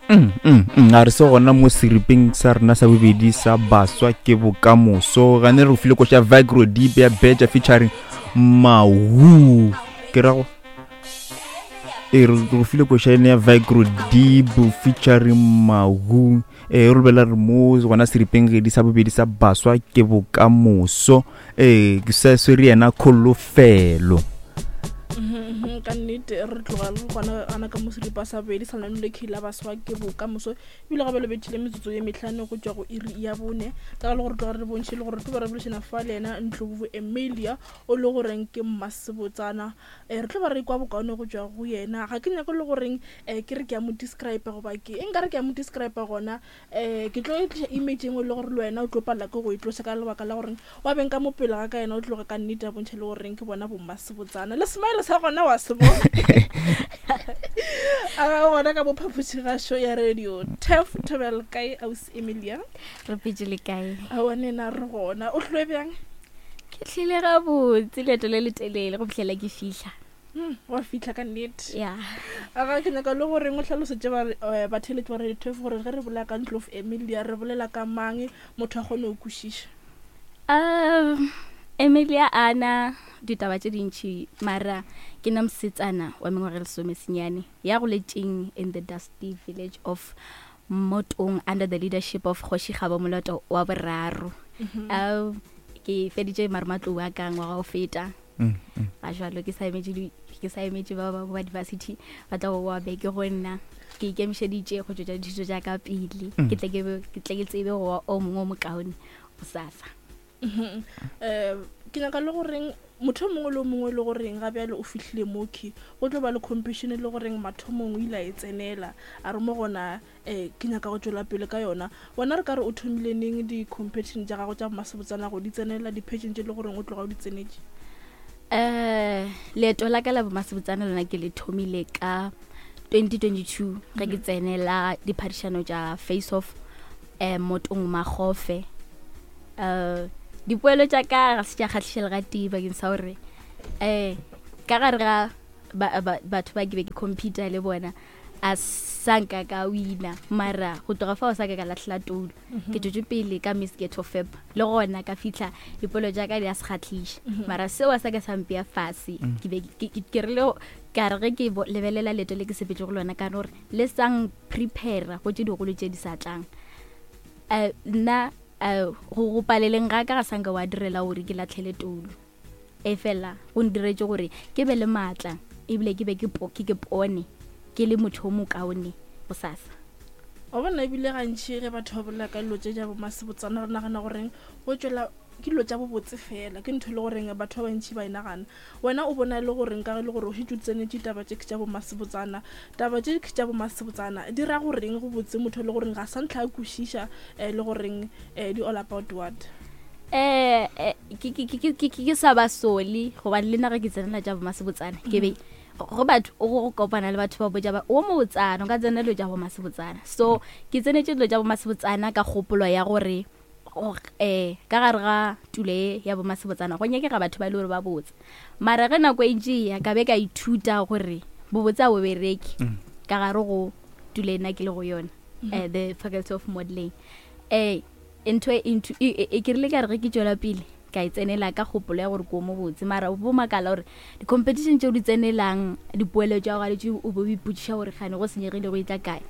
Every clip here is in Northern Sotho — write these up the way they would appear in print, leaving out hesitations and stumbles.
Mm, mm, mm, a re se gona mo seripeng sa rena sa bobedi sa baswa ke bokamoso gane re file koša vigro deep ya beja featuring mahu ke ra go e re go file koša ene ya vigro deep featuring mahu e re bela re mo gona seripeng gedi sa bobedi sa baswa ke bokamoso ee ke sa swere yena kholofelo mhm, ka nnete re tloga re gona gana ka moseripa sa bobedi sa lenano le key la baswa ke bokamoso ebile gabe le bethile metsotso ye metlhano go tšwa go iri ya bone ka ga le gore tloga re bontšhe le gore tlo ba re bolešana fa le yena ntlobo emilia o le goreng ke mmasebotsana um re tlo ba re kwa bokaone go tšwa go yena ga ke nyako le goreng um ke re ke ya mo describe goba ke e nka re ke ya mo describe gona um ke tlo tliša image engwe le gore le wena o tlo palela ke go e tloša ka lebaka la goreng wa beng ka mo pele ga ka yena o tloga ka nnete a bontšha le goreng ke bona bommasebotsana le smile sa gona wa se bona a ga gona ka bophapošigašo ya radio tef thobel kae aus emilia re petse le kae aowa nena re gona o tlhoe bjang ke tlile gabotse leeto le letelele go fitlhela ke fihla Hmm, wa fitlha ka nnete ya aga ke nyaka le goreng o tlhalosetse eh, batheletši ba radio twelve gore ge re bolela ka ntlo of emilia re bolela ka mang motho a kgone go kwešiša um emilia ana ditaba tše dintšhi mara ke na mosetsana wa mengwaga e lesome senyane ya goletšeng in the dusty village of motong under the leadership of kgoši gabo moloto wa boraro um ke feditše marematlou a ka ngwaga o feta mm, mm. ga jalo ke sa emetše ke sa emetše ba ba ba diversity ba tla go boa beke go nna ke ikemišeditše go tšwetša dithuto tša ka pele mm. ke tle ke ke tle ke tsebe go wa o mongwe o mokaone bosasa um ke nyaka le goreng motho o mongwe le o mongwe le goreng ga bjale o fihlile moki go tlo ba le competition le goreng mathomong o ile a e tsenela a re mo gona um ke nyaka go tšwela pele ka yona wena re ka re o thomile neng di-competition tša gago tša masebotsana go di tsenela di-pageant tše le goreng o tloga o di tsenetše um leeto la ka la bomasebotsana lona ke le thomile ka 2022 ge ke tsenela diphadišano tša face off um motong magofe um dipoelo tša ka ga se tša kgahliša le gatee bakeng sa gore um ka gare ga batho ba ke be ke computer le bona a sa nka ka wina mara go tloga fao sa ka ka latlhela toulo mhm. ke tšwetše pele ka miss ghetto fab le gona ka fitlha dipolo tša ka di a se kgatlhiša mhm. mara seo a sa ka sa mpea fase mm. ke be ke rile ka re ge ke lebelela leeto le ke sepetse go lona ka gore le sang prepare go tše digolo tše di sa tlang um nna um go paleleng ga ka ga sanka wa direla gore ke latlhele toulo Efela go ntiretše gore ke be le maatla ebile ke be ke ke ke pone ke le motho o mokaone bosasa. Wa bona ebile gantši ge batho ba bolela ka dilo tše tša bomasebotsana re nagana goreng go tšwela ke dilo tša bobotse fela ke ntho e le goreng batho ba bantši ba e nagana. Wena o bona e le goreng ka ge e le gore o šetše o tsenetše taba tše tša bomasebotsana taba tše tša bomasebotsana di ra goreng go botse motho e le goreng ga sa ntlha a kwešiša um le goreng um di all about what? Eh, eh ke ke ke ke ke sa ba sole gobane le nna ge ke tsenela tša bomasebotsana ke be go batho o go kopana le batho ba botša ba o mobotsana o ka tsena dilo tša bomasebotsana so ke tsenetše dilo tša bomasebotsana ka kgopolo ya gore um ka gare ga tulo e ya bomasebotsana go nyakega batho ba e le gore ba botse mara ge nako e ntše ya ka be ka ithuta gore bobotse a bo bereke mm. ka gare go tulo e nna ke le go yona um the faculty of modeling um Ntho e, ntho e, e, e ke rile ka re ge ke tšwela pele ka e tsenela ka kgopolo ya gore ko mo botse mara o bo makala gore di-competition tšeo di tsenelang dipoelo tša gago tše o bo o ipotšiša gore gane go senyegile go etla kae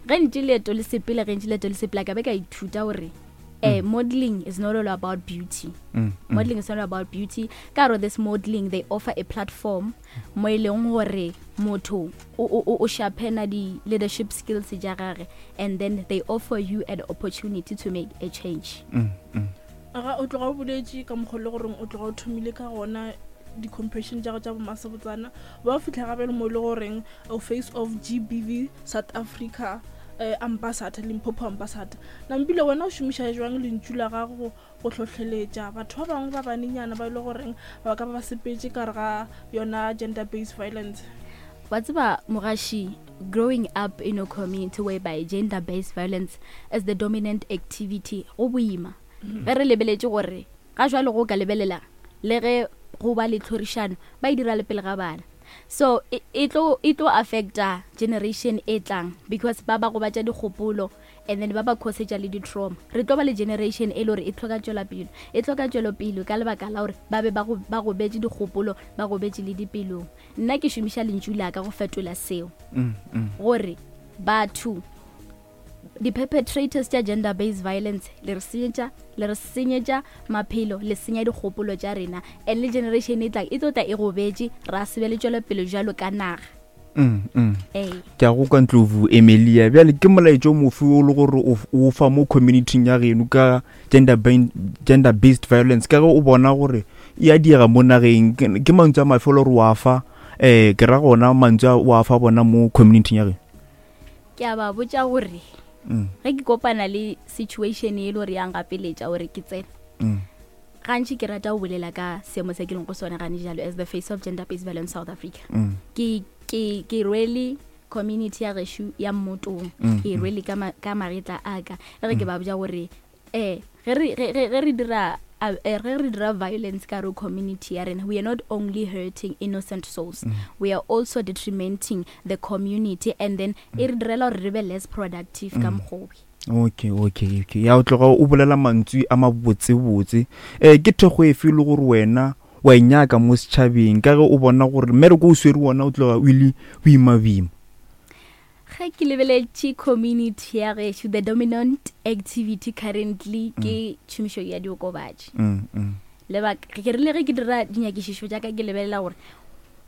ge ntše leeto le sepele ge ntše leeto le sepela ka be ka ithuta gore eh, mm. modeling is not all about beauty mm, mm. modeling is not all about beauty ka gore this modeling they offer a platform mo e leng gore motho o sharpena di-leadership skills tša gage and then they offer you an opportunity to make a change mm, mm. aga o tloga o boletše ka mokgwa le goreng o tloga o thomile ka gona di-compassion tša go tša bomasebotsana ba fitlha gape le mo e le goreng o face of gbv south africa eh, ambassador limpopo ambassador nampile wena o šomiša jwang lentšu la gago go hlohleletša batho ba bangwe ba banenyana ba e le goreng ba ka ba ba sepetše ka re ga yona gender based violence? Wa tseba mogaši, growing up in a community whereby gender based violence is the dominant activity go boima ge re lebeletše gore ga jwale go ka lebelela le ge go ba le tlhorišano ba e dira le pele ga bana. So e, e tlo e tlo affecta generation e tlang because ba ba gobatša dikgopolo and then ba ba causetša le di-trauma. Re tlo ba le generation e le gore e tlhoka tšwelapele, e tlhoka tšwelopele ka lebaka la gore ba be ba go ba gobetše dikgopolo, ba gobetše le dipelong. Nna ke šomiša lentšu la ka go fetola seo gore batho di-perpetrators tša gender based violence le re senyetša le re senyetša maphelo le senya dikgopolo tša rena and le generation e tlang e tlo tla e gobetše ra se be le tšwelopele jalo ka naga. Mm, mm. Ee. Ke a go kwa Ndlovu Emilia. Bjale ke molaetša o mofe o le gore o o fa mo community-ing ya geno ka gender gender based violence ka ge o bona gore e a diega mo nageng ke ke mantswe a mafe o le gore wa fa um ke ra gona mantswe a o a fa bona mo community-ing ya geno? Ke a ba botša gore ge ke kopana le situation e le gore ya ngapeletša gore ke tsene gantši ke rata go bolela ka seemo se ke leng go sone gane jalo as the face of gender based violence South Africa. Ke ke ke rwele community ya gešo ya mmotong ke e rwele ka ma, ka magetla a ka le ge ke ba botša gore eh ge re ge ge ge re dira eh, ge re dira violence ka re community ya rena, we are not only hurting innocent souls, we are also detrimenting the community and then e re direla gore re be less productive ka mokgowe. Okay, okay, okay. Ya o tloga o bolela mantswe a mabotsebotse. Eh ke thekgo efe e le gore wena wa e nyaka mo setšhabeng ka ge o bona gore mmereko o swere wona o tloga o ile boima-boima? Ge ke lebeletše community ya gešo, the dominant activity currently ke tšhomišo ya diokobatši. Lebaka, ke rile ge ke dira dinyakišišo tša ka ke lebelela gore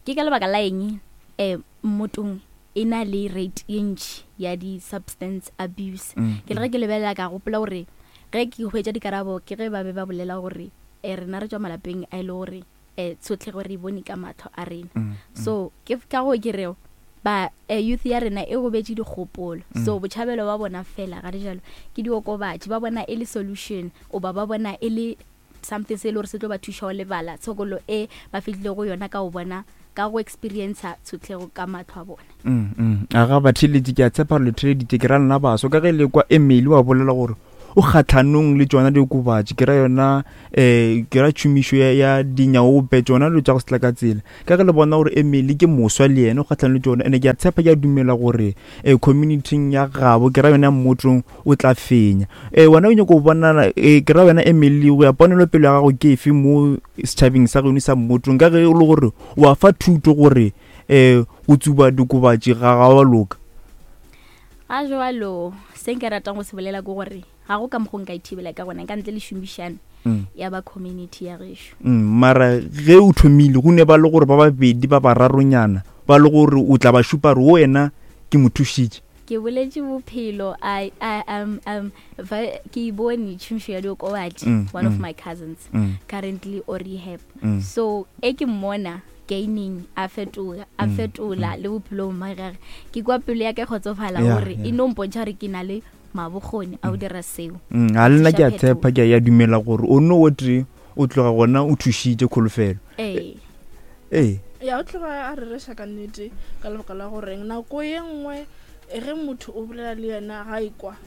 ke ka lebaka la eng um mmotong e na le rate ye ntši ya di-substance abuse. Ke le ge ke lebelela ka gopola gore ge ke hwetša dikarabo ke ge ba be ba bolela gore um rena re tšwa malapeng a e le gore um tshotlego re e bone ka mahlo a rena. So ke ka go ke reo ba youth ya rena e gobetše dikgopolo. So botšhabelo ba bona fela ga jalo ke diokobatši, ba bona e le solution oba ba bona e le something se e le gore se tlo ba thuša go lebala tshokolo e ba fihlile go yona ka go bona ka go experiencer tshotlego ka mahlo a bona. A ga batheeletši, ke a tshepa gore le theeleditše, ke ra lena baso ka ge le kwa Emily wa bolela gore o kgahlanong le tšona diokobatši, ke ra yona um ke ra tšhomišo ya, ya dinyaope, tšona dilo tša go se tla ka tsela. Ka ge le bona gore Emily ke moswa le yena o kgahlanong le tšona, ene ke a tshepa, ke a dumela gore um community-ing ya gabo, ke ra yona ya mmotong, o tla fenya. Um wena o nyako go bonala, um ke ra wena Emily, go ya ponelopele ya gago ke efe mo setšhabeng sa geno sa mmotong, ka ge e le gore wa fa thuto gore um go tsuba diokobatši ga ga wa loka? Ga jwalo, se nka ratang go se bolela ke gore ga go ka mokgo nka ithibela ka gona ka ntle le šomišano ya ba community ya gešo. Mara ge o thomile go ne ba le gore ba babedi ba bararonyana ba le gore o tla ba šupa gore wena ke mo thušitše. Ke boletše bophelo, I, I, va, ke e bone tšhomišo ya diokobatši, one of my cousins currently o rehab. So e ke mmona gaining a fetoga, a fetola le bophelong ba gage, ke kwa pelo ya ka e kgotsofala gore e no mpontšha gore ke na le mabokgoni a go dira seo. Ga le nna ke a tshepa, ke a ya dumela gore o no o tee o tloga gona o thušitše kholofelo. Ee. Ee. Ya o tloga a rereša ka nnete ka lebaka la goreng nako ye nngwe ge motho o bolela le yena ga e kwa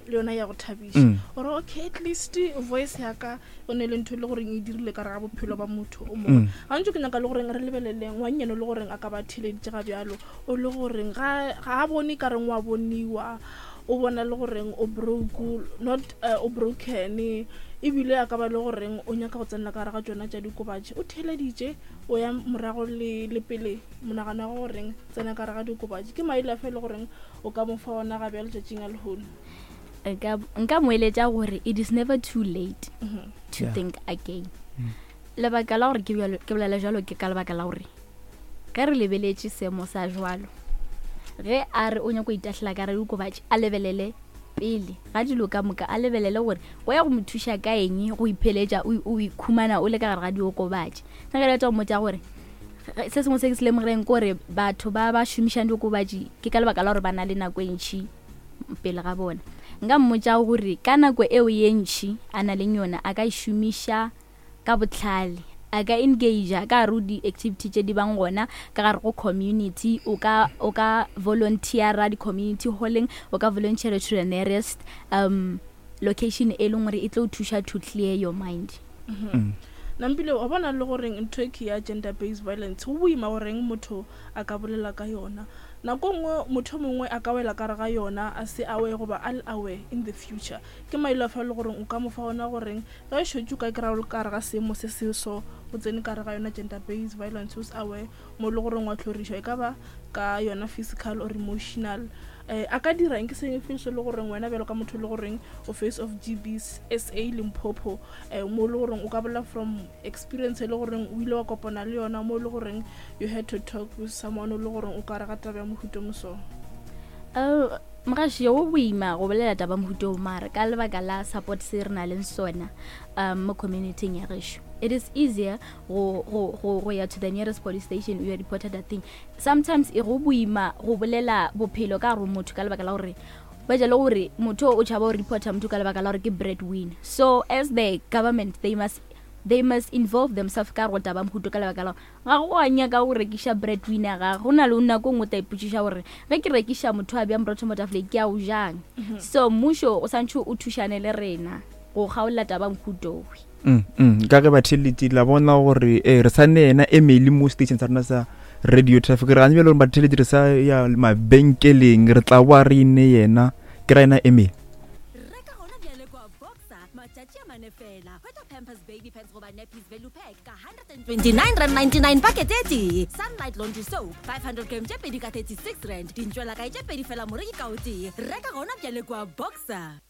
le yona ya go thabiša gore okay at least voice ya ka o ne le ntho e le goreng e dirile ka re ga bophelo ba motho o mongwe. Gantši ke nyaka le goreng re lebelele ngwannyane le goreng a ka ba theleditše ga bjalo, o le goreng ga a bone ka reng wa boniwa, o bona le goreng o broke, not o broken, ebile a ka ba le goreng o nyaka go tsenela ka gare ga tšona tša dikobatši. O theleditše, o ya morago le pele, monagano wa goreng tsena ka gare ga dikobatši. Ke maele afe e le goreng o ka mo fa ona ga bjalo tšatšing a lehono? Nka mo eletša gore it is never too late to think again. Lebaka la gore ke bolela jalo ke ka lebaka la gore ge re lebeletše seemo sa jwalo, ge a re o nyako itahlela ka re diokobatši, a lebelele pele ga dilo ka moka, a lebelele gore go ya go mo thuša ka eng go ipheletša o ikhumana o le ka gare ga diokobatši. Nna ke rata go mmotša gore se sengwe se ke se lemogileng ke gore batho ba ba šomišang diokobatši ke ka lebaka la gore ba na le nako e ntšhi pele ga bona. Nka mmotša gore ka nako eo ye ntšhi a na leng yona a ka e šomiša ka bohlale, a ka engagea ka gare go di-activity tše di bang gona ka gare go community, o ka, o ka volunteera di-community hall-eng, o ka volunteera to the nearest location e leng gore e tlo thuša to clear your mind. Nampile wa bona le goreng ntho e ke ya gender based violence go boima goreng motho a ka bolela ka yona. Nako nngwe motho mongwe a ka wela ka re ga yona a se aware goba a le aware in the future. Ke maele afe a le goreng o ka mo fa ona goreng ge o šetše o ka kry-a o le ka gare ga seemo se se so o tsene ka gare ga yona gender based violence o se aware mo e le goreng wa tlhorišwa e ka ba ka yona physical or emotional um a ka dira eng ke seng fe se le goreng wena bjalo ka motho e le goreng o face of GBSA Limpopo um mo e le goreng o ka bolela from experience e le goreng o ile wa kopana le yona mo e le goreng you had to talk with someone o le goreng o ka re ga taba ya mohuta mo so. Mogaši go boima go bolela taba mohuta o mara ka lebaka la support se re na leng sona mo community ya gešo it is easier go go go go ya to the nearest police station o ya reporta that thing. Sometimes e go boima go bolela bophelo ka gare motho ka lebaka la gore ba ja le gore motho o tšhaba go reporta motho ka lebaka la gore ke breadwinner. So as the government they must they must involve themselves ka go taba mohuto ka lebaka la ga go a nyaka go rekiša breadwinner ga go na le nako nngwe ta ipotšiša gore ge ke rekiša motho a bjang borotho mo tafoleng ke a o jang. So mmušo o santšhe o thušane le rena go kgaolla taba mohutowe. Ka ge batheeletši la bona gore re sa ne yena Emily mo station sa rena sa radio traffic re gane bjale gore batheeletši re sa ya mabenkeleng re tla boa re ine yena ke ra yena Emily. Reka gona bjale kwa Boxer matšatši a mane fela. Hwetša Pampers Baby Pants goba Nappies Value Pack ka R129.99 pakete e tee. Sunlight Laundry Soap 500 gram tše pedi ka R36. Dintšwelakae tše pedi fela moreki ka o tee. Reka gona bjale kwa Boxer.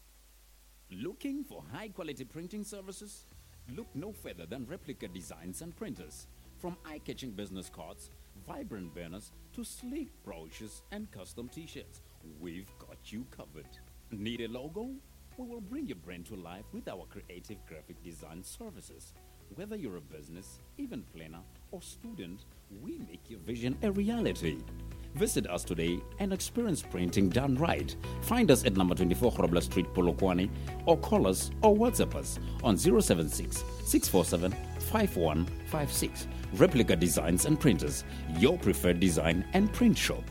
Looking for high quality printing services? Look no further than Replica Designs and Printers. From eye-catching business cards, vibrant banners, to sleek brochures and custom t-shirts, we've got you covered. Need a logo? We will bring your brand to life with our creative graphic design services. Whether you're a business, event planner, or student, we make your vision a reality. Visit us today and experience printing done right. Find us at number 24 Grobler Street, Polokwane, or call us or WhatsApp us on 076 647 5156. Replica Designs and Printers, your preferred design and print shop.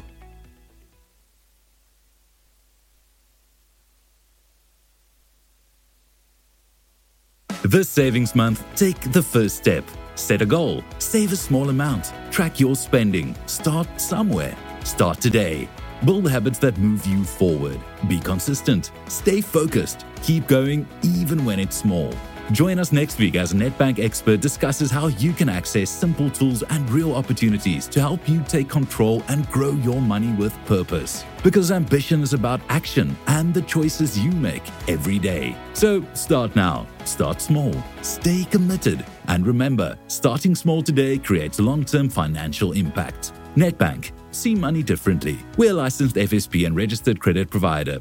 This savings month, take the first step. Set a goal, save a small amount, track your spending, start somewhere. Start today. Build habits that move you forward. Be consistent, stay focused, keep going even when it's small. Join us next week as a Nedbank expert discusses how you can access simple tools and real opportunities to help you take control and grow your money with purpose. Because ambition is about action and the choices you make every day. So start now, start small, stay committed, and remember, starting small today creates long-term financial impact. Nedbank, see money differently. We're a licensed FSP and registered credit provider.